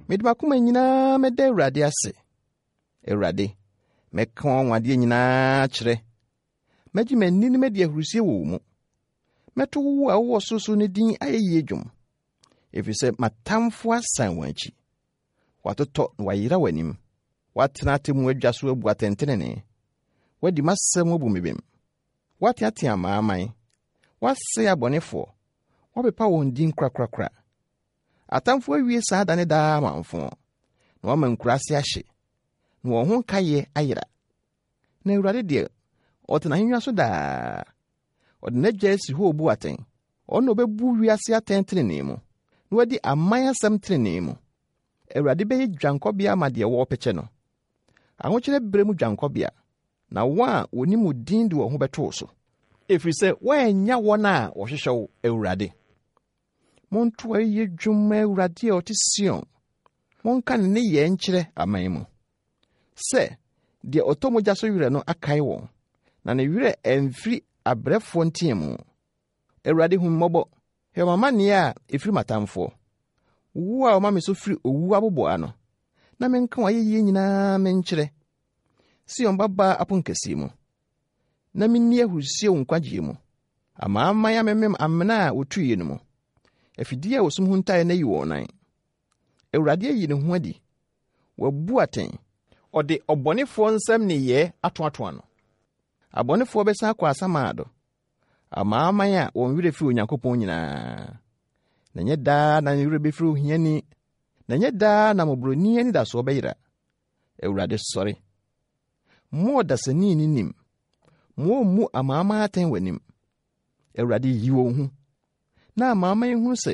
Mede m'akoma nyinaa mɛda Awurade ase. Awurade, mɛka w'anwanwadeɛ nyinaa akyerɛ. Mɛgye m'ani na madi ahurusie wɔ wo mu. Mɛto wo a wowɔ sorosoro no din ayɛyie dwom, ɛfiri sɛ m'atamfo asan wɔn akyi. Wɔatotɔ na wɔayera w'anim. Woatena atemmu adwa so abu atɛntenenee. Woadi m'asɛm abu me bem. Woateatea amanaman. Woasɛe abɔnefoɔ. Woapepa wɔn din korakorakora. Atamfo awie saa da ne daa amamfõ, na wɔama nkuraase ahye, na wɔn ho nkaeɛ ayera. Na Awurade deɛ, ɔte n'ahennwa so daa. Ɔde n'agya asi hɔ rebu atɛn. Ɔno na ɔbɛbu wiase atɛn tenenee mu, na wadi aman asɛm tenenee mu. Awurade bɛyɛ dwankɔbea ama deɛ wɔrepɛkyɛ no, ahokyerɛ berɛ mu dwankɔbea, na wɔn a wɔnim wo din de wɔn ho bɛto wo so. Ɛfiri sɛ woannya wɔn a wɔhwehwɛ wo, Awurade. Monto ayɛyie dwom mma Awurade a ɔte Sion. Monka ne nneyɛɛ nkyerɛ aman mu. Sɛ, deɛ ɔtɔ mogya so werɛ no akae wɔn, na ne werɛ amfiri abrɛfoɔ nteamu. Awurade hu me mmɔbɔ, hwɛ m'amanneɛ a ɛfiri m'atamfoɔ. Wo a woma me so firi owu aboboano, na menka w'ayɛyie nyinaa menkyerɛ. Sion babaa aponkɛseɛ mu. na minni ahurusi wo nkwagyeɛ mu. Amanaman amemem amena a wɔtuiɛ no mu. Afidie a wɔsum huntaeɛ no ayi wɔn nan. Awurade ayi ne ho adi. Wabu atɛn. Ɔde ɔbɔnefoɔ nsam nneyɛɛ atoatoa no. Abɔnefoɔ bɛsan akɔ asamando, amanaman a wɔn werɛ firi Onyankopɔn nyinaa. Na ɛnyɛ daa na ne werɛ bɛfiri ohiani, na ɛnyɛ daa na mmɔborɔni anidasoɔ bɛyera. Awurade sɔre. Mma ɔdasani nni nim. Ma ommu amanaman atɛn w'anim. Awurade, yi wɔn hu, na amanaman nhunu sɛ